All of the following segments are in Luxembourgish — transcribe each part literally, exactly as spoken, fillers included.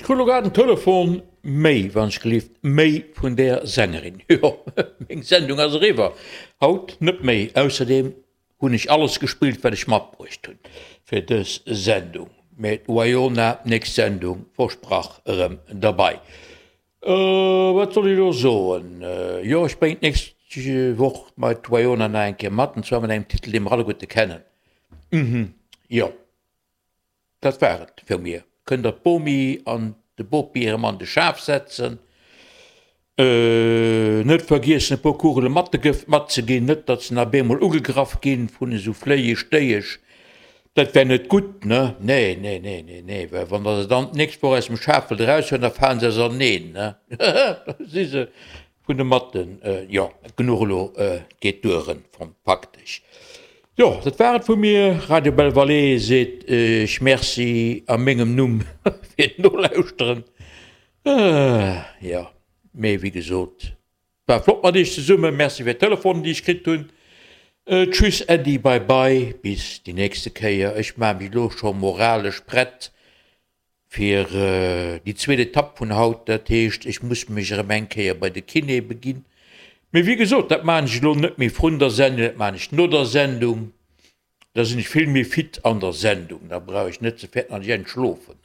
Ech krut elo grad en Telefon, méi, wann ech gelift, méi vun där Sängerin. Jo, meng Sendung ass eriwwer. Haut net méi. Ausserdeem hunn ech alles gespillt, wat ech matbruecht hunn fir dës Sendung. Mä d'Wyona, nächst Sendung, versprach, erëm derbei. Wat soll ech elo soen? Jo, ech bréngen d'nächst Woch mei d'Wyona nach eng Kéier mat, an zwar mat engem Titel, dee mer alleguerte kennen. Mhm, jo, dat war et vu mir. Kënnt der d'Bomi an de Bopi erëm an de Schaf setzen. Net vergiessen e puer Kugele Mattegëft matzeginn, net datt se nach bemol ugegraff ginn vun esou Fléiesch Déiesch, dat wär net gutt, ne? Nee, nee, nee, nee, nee, well wann der se dann d'nächst Woch aus dem Schaf wëllt eraushuelen, da falen se auserneen, ne? Da si se vun de Matten, jo, genuch elo, et geet duer, faktesch. Jo, dat war et vu mir. Radio Belle Vallée seet Iech Merci a mengem Numm fir d'Nolauschteren. Jo, mee wéi gesot, war flott mat Iech zesummen. Merci fir d'Telefonen, déi ech kritt hunn. Tschüss, Äddi, bye bye, bis déi nächste Kéier. Ech maache mech elo scho moralesch prett fir déi zweet Etapp vun haut. Dat heescht, ech muss mech erëm eng Kéier bei de Kiné beginn. Mee wéi gesot, dat maachen ech elo net méi vrun der Sendung, dat maachen ech no der Sendung. Da sinn ech vill méi fit an der Sendung, da brauch ech net ze fäerten, datt ech entschlofen.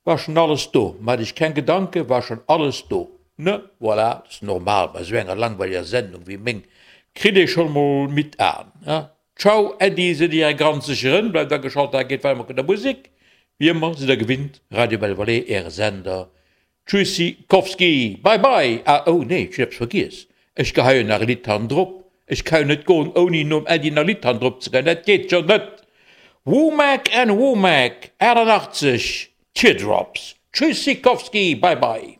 War schonn alles do, maacht iech keng Gedanken, war schonn alles do. Ne? Voilà, dat ass normal bei esou enger langweiliger Sendung wéi meng, kritt ee schonn emol midd Aen. Ciao Äddi, sidd Dir ganz sécher en, bleift ageschalt, da geet weider mat gudder Musek, wéi ëmmer, sidd der gewinnt, Radio Belle Vallée, Äre Sender. Tschüssikowski, bye bye! Ah, oh nee, ech hunn eppes vergiess, ech geheien nach e Lidd hannendrop, ech ka jo net goen ouni nom Äddi nach e Lidd hannendrop ze geheien, dat geet jo net! Womack and Womack, achtannachtzeg, Teardrops, Tschüssikowski, bye bye!